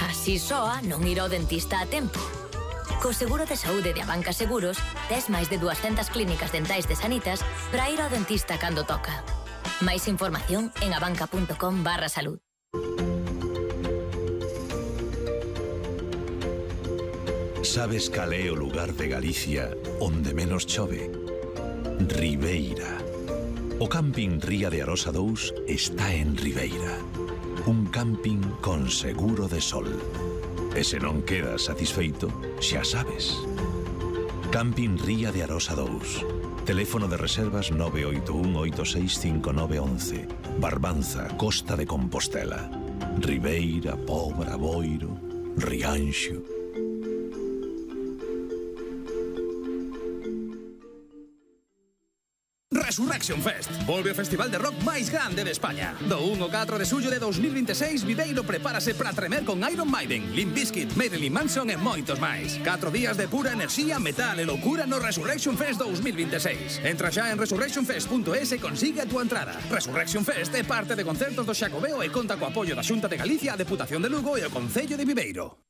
Así soa non ir ao dentista a tempo. Co seguro de saúde de Abanca Seguros, tes máis de 200 clínicas dentais de Sanitas para ir ao dentista cando toca. Máis información en abanca.com/salud. Sabes cal é o lugar de Galicia onde menos chove? Ribeira. O camping Ría de Arosa 2 está en Ribeira. Un camping con seguro de sol. E se non quedas satisfeito, xa sabes. Camping Ría de Arosa 2. Teléfono de reservas 981865911. Barbanza, Costa de Compostela. Ribeira, Pobra, Boiro, Rianxo. Resurrection Fest. Volve o festival de rock máis grande de España. Do 1 ao 4 de xullo de 2026, Viveiro prepárase para tremer con Iron Maiden, Limp Bizkit, Marilyn Manson e moitos máis. 4 días de pura enerxía, metal e loucura no Resurrection Fest 2026. Entra xa en resurrectionfest.es e consigue a túa entrada. Resurrection Fest é parte de concertos do Xacobeo e conta co apoio da Xunta de Galicia, a Deputación de Lugo e o Concello de Viveiro.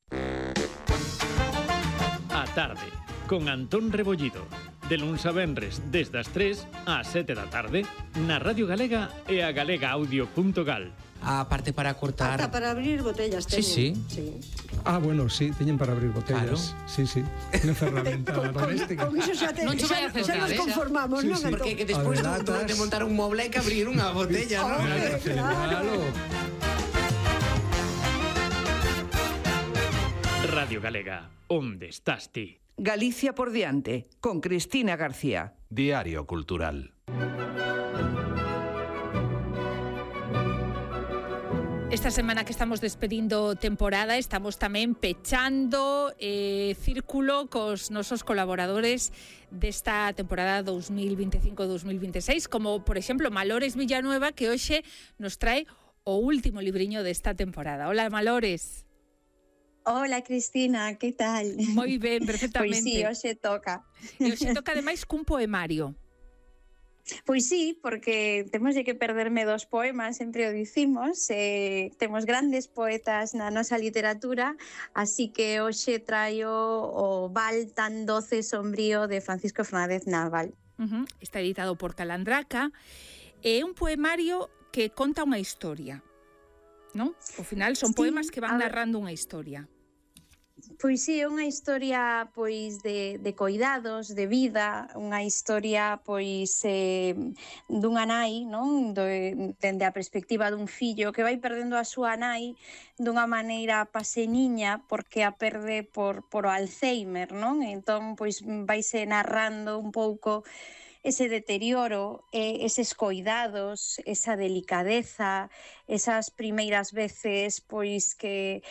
A tarde, con Antón Rebollido. De luns a venres, desde as 3 ás 7 da tarde, na Radio Galega e a galegaaudio.gal. A parte para cortar... Ata para abrir botellas teñen. Sí. Ah, bueno, sí, teñen para abrir botellas. Claro. Sí, sí. Unha ferramenta doméstica. Con iso xa Non che vai a xa nos conformamos, Sí, non? sí. Porque que despois de montar un moble hai que abrir unha botella, non? Claro. Radio Galega, onde estás ti? Galicia por diante, con Cristina García. Diario Cultural. Esta semana que estamos despedindo temporada, estamos tamén pechando círculo cos nosos colaboradores desta temporada 2025-2026, como, por exemplo, Malores Villanueva, que hoxe nos trae o último libriño desta temporada. Hola, Malores. Hola, Cristina, que tal? Moi ben, perfectamente. Pois sí, hoxe toca. E hoxe toca, ademais, cun poemario. Pois sí, porque temos de que perderme dos poemas, sempre o dicimos, temos grandes poetas na nosa literatura, así que hoxe traio o Val tan doce e sombrío de Francisco Fernández Nabal. Está editado por Calandraca, é un poemario que conta unha historia, non? Ao final son poemas que van narrando unha historia. Pois sí, é unha historia pois de coidados, de vida, unha historia pois dunha nai, non? Dende a perspectiva dun fillo que vai perdendo a súa nai dunha maneira paseniña porque a perde por o Alzheimer, non? Entón pois vaise narrando un pouco ese deterioro, eses coidados, esa delicadeza, esas primeiras veces pois que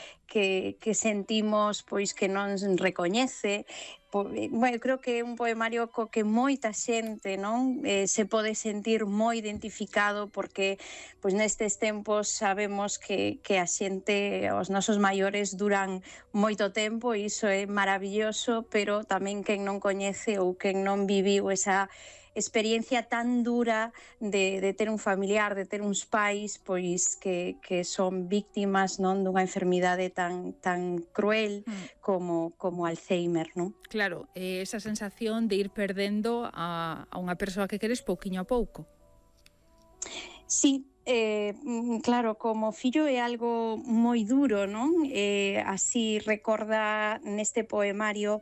sentimos pois que non recoñece. Bueno, creo que é un poemario co que moita xente, non, se pode sentir moi identificado porque pois nestes tempos sabemos que a xente, os nosos maiores duran moito tempo e iso é maravilloso, pero tamén quen non coñece ou quen non viviu esa experiencia tan dura de ter un familiar, de ter uns pais pois que son víctimas, non, dunha enfermidade tan cruel como Alzheimer, non? Claro, esa sensación de ir perdendo a unha persoa que queres pouquiño a pouco. Sí, claro, como fillo é algo moi duro, non? Así recorda neste poemario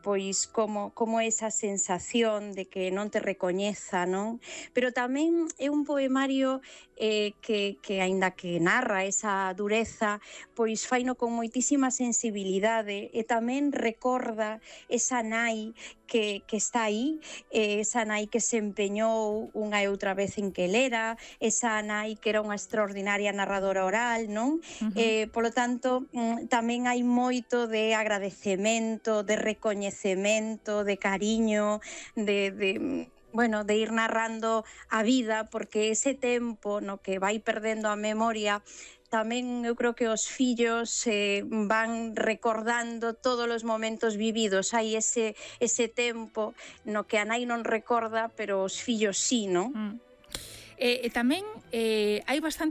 pois como esa sensación de que non te recoñeza, non? Pero tamén é un poemario que aínda que narra esa dureza, pois faino con moitísima sensibilidade e tamén recorda esa nai que está aí, esa nai que se empeñou unha e outra vez en que lera, esa nai que era unha extraordinaria narradora oral, non? Polo tanto, tamén hai moito de agradecemento, de recoñecemento, de cariño, de ir narrando a vida, porque ese tempo no que vai perdendo a memoria tamén eu creo que os fillos van recordando todos os momentos vividos. Hai ese tempo no que a nai non recorda, pero os fillos sí, non? E tamén hai bastante